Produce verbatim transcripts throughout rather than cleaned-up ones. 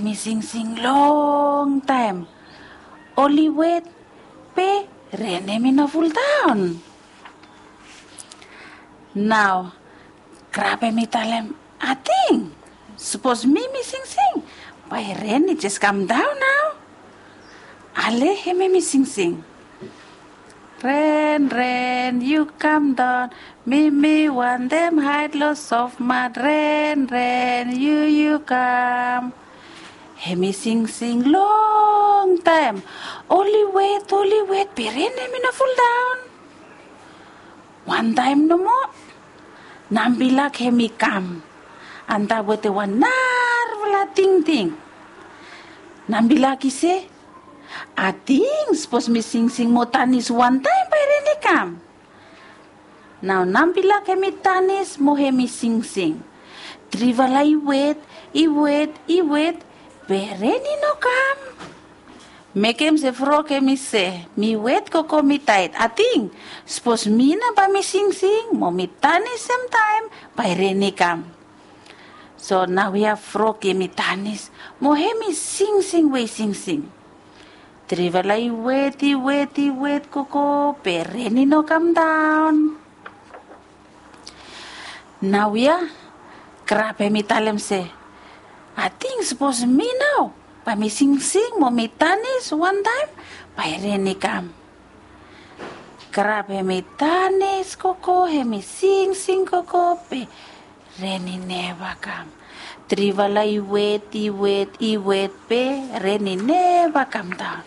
Mi singsing longtaem. Oli wet be ren hemi no fuldaon. Nao Krab hemi talem, ating sapos mi mi singsing, bae ren i jes kamdaon nao. Ale hemi mi singsing. Ren ren yu kamdaon, mi mi wantem haed lo sofmat. Ren ren yu yu kam. Hemi singsing longtaem. Oli wet, oli wet be ren hemi no fuldaon. Wantaem nomo Nambilak hemi kam antap wetem wan narafala tingting. Nambilak i se, ating sapos mi singsing mo tanis wantaem bae ren i kam. Nao Nambilak hemi tanis mo hemi singsing. Trifala i wet, i wet, i wet, be ren i no kam. Mekem se frok hemi se, mi wet koko mi taet, ating sapos mi nao bae mi singsing mo mi tanis semtaem bae ren i kam. So naoia frok hemi tanis mo hemi singsing we i singsing. Trifala i wet, i wet, i wet koko be ren i no kamdaon. Naoia Krab hemi talem se, ating sapos mi nao bae mi singsing mo mi tanis wantaem bae ren i kam. Krab hemi tanis koko, hemi singsing koko be ren i neva kam. Trifala i wet, i wet, i wet be ren i neva kamdaon.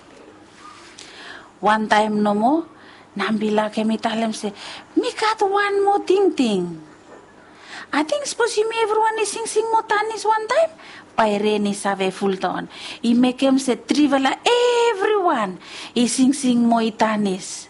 Wantaem nomo Nambilak hemi talem se, mi gat wan moa tingting. Ating sapos yumi evriwan i singsing mo tanis wantaem bae ren i save fuldaon. I mekem se trifala evriwan i singsing mo i tanis.